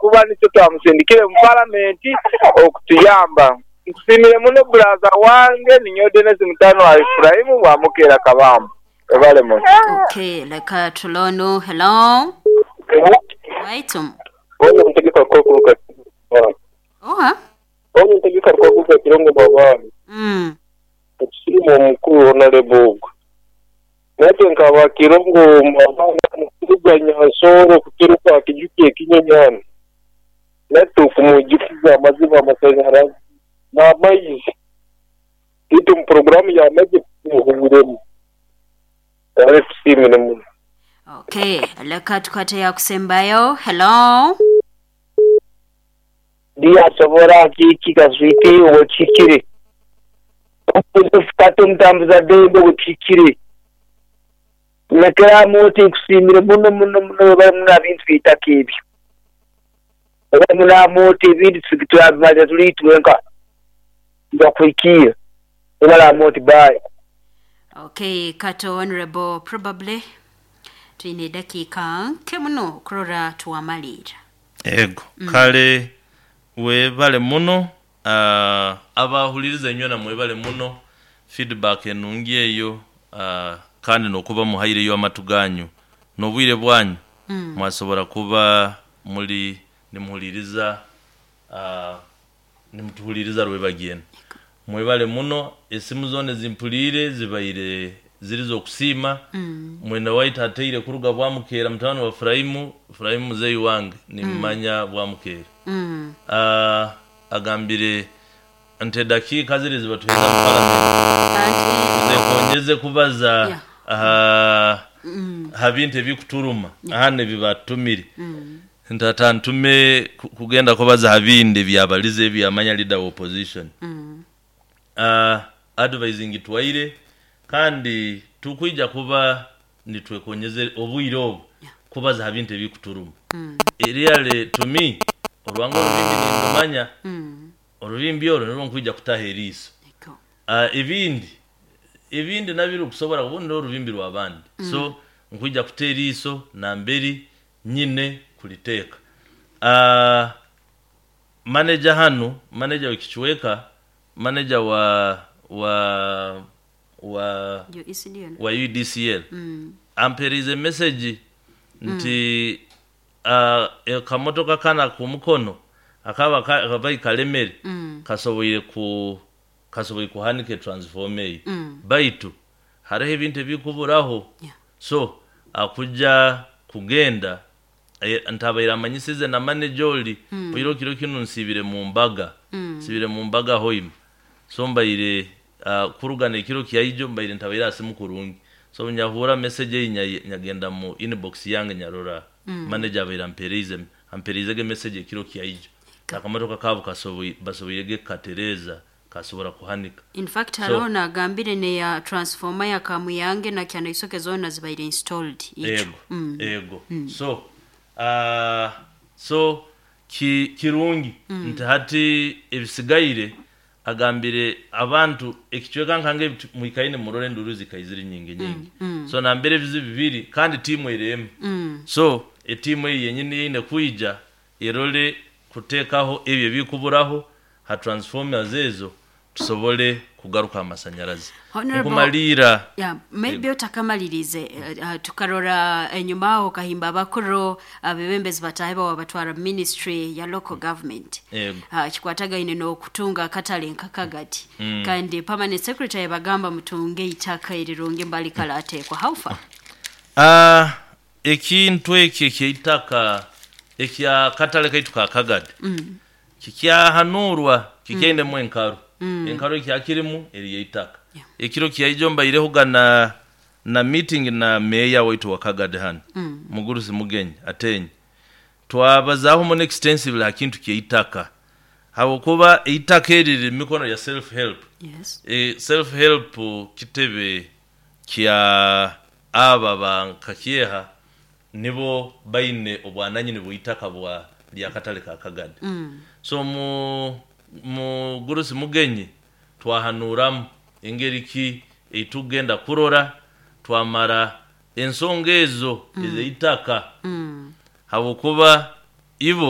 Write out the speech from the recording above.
Habwokuba nikyo twamusindikire mu palamenti okutuyamba. Nkusiimire muno buraza wange, ninyowe Dennis mutano wa Efuraimu Bwamukeera Kabamba. Webale muno. Okay, leka tulonu. Hello. Waitu. Ono ntegeka kuruga Oha. Ono ntegeka kuruga Kirongo Mabani. Okusiima omukulu Honalebo ogwo. Naitwe nk'aba Kirongo Mabani kuruga Nyansoro kuturuka aha Kijuki ekinyonyi hanu, naitwe okumwijukiza amazima amasanyarazi n'amaizi. Itwe omu puroguramu y'amaizi tumuhwiremu. Kale tusiimire muno. Okay, leka tukwate yakusembayo. Hello. Ndiyasobora kiki kaswiti obwekihikire. Kati omutambuza dembe obwekihikire. Lekera oti nkusiimire muno muno muno webale muno aha bintu by'eitaka ebyo. Webale muno Amooti ebindi turabimalira tuli itwenka. Nibakuhikiira. Webale Amooti bye. Okay, Kato Honorable probably twine edakiika nke muno okurora twamaliira. Ego kale webale muno abahuliriza inywena mwebale muno feedback enungi eyo kandi nokuba muhaireyo amatu ganyu n'obwire bwanyu mwasobora kuba muli nimuhuliriza nimutuhuliriza rwebagyo. Mwebale muno esimu zoona ezimpuliire zibaire ziri z'okusiima mwene waitu ataire kuruga Bwamukeera mutabani wa Furaimu, Furaimu muzeeyi wange nimmanya Bwamukeera. Agambire nti edakiika ziri ezibatuheereza mu palamenti zekongeze kubaza aha ha bintu ebikuturuma hanu ebibatutumire. Nti atantume kugenda kubaza ha bindi ebyabalize ebyamanya leader wa opposition. Advising ngitwaire kandi tukwija kuba nitwekonyeza obwire obu kubaza ha bintu ebikuturuma. Really to me orwange orubimbi nindumanya, orubimbi orwo nirwo nkwija kutaho eriiso. Ebindi ebindi nabyo kusobora obundi n'orubimbi rw'abandi. So nkwija kuta eriiso namberi nyine kuliteeka. Manager hanu, manager w'ekicweka, manager wa wa wa UDCL ampeerize message nti akamotoka kanu ak'omukono akaba kabaire kalemere kasoboire ku kasoboire kuhanika etransformer eyo baitu hariho ebintu ebikuburaho so akuja kugenda ntabaire amanyisize na manager ori oihireho kiro kinu nsiibire mu mbaga nsiibire mu mbaga hoima so mbaire kuruga n'ekiro kyaijo mbaire ntabaire aha simu kurungi so nyahuura message eyi nyagenda mu inbox yange nyarora manager abaire ampereizege message ekiro kyaijo akamotoka kaabo basoboirege kukatereeza kasobora kuhanika. In fact hariho nagambire neya transformer ya Kamuyange na Kyanaisoke zoona zibaire installed. Ego, ego. So so kirungi nti hati ebisigaire agambire abantu ekicweka nkange mwikaine murore enduru zikaizire nyingi nyingi. So nambere ebizibu bibiri kandi tiimu eri. So etiimu eyi yenyini eine kwija erole kuteekaho ebyo ebikuburaho ha transformers ezo tusobole kugaruka amasanyarazi. Nkumaliira Yeah, maybe otakamalirize tukarora enyuma aho kahimba abakuru abebembezi batahe bawa batwara ministry ya local government. Ego. Kikwatagaine n'okutunga akatale nkakagati kandi permanent secretary bagamba mutunge itaka erirungi mbali kala atekwa how far? Ekintu eki ekyeitaka ekya katale kaitu ka Kagadi kikyahanurwa kikyainemu enkaru. Enkaru ekyakirimu eri eitaka. Ekiro kyaijo mbairehoga na meeting na meya waitu wa Kagadi hanu Mugurusi Mugenyi Atenyi. Twabazaaho muno extensively ha kintu ky'eitaka habwokuba eitaka eri riri mu mikono ya self help. Yes. Self help kitebe kya aba ba Nkakyeha nibo baine obwananyini bw'eitaka bwa ly'akatale ka Kagadi. So mu Mugurusi Mugenyi twahanuuramu engeri ki eitugenda kurora twamara ensonga ezo ez'eitaka habwokuba ibo.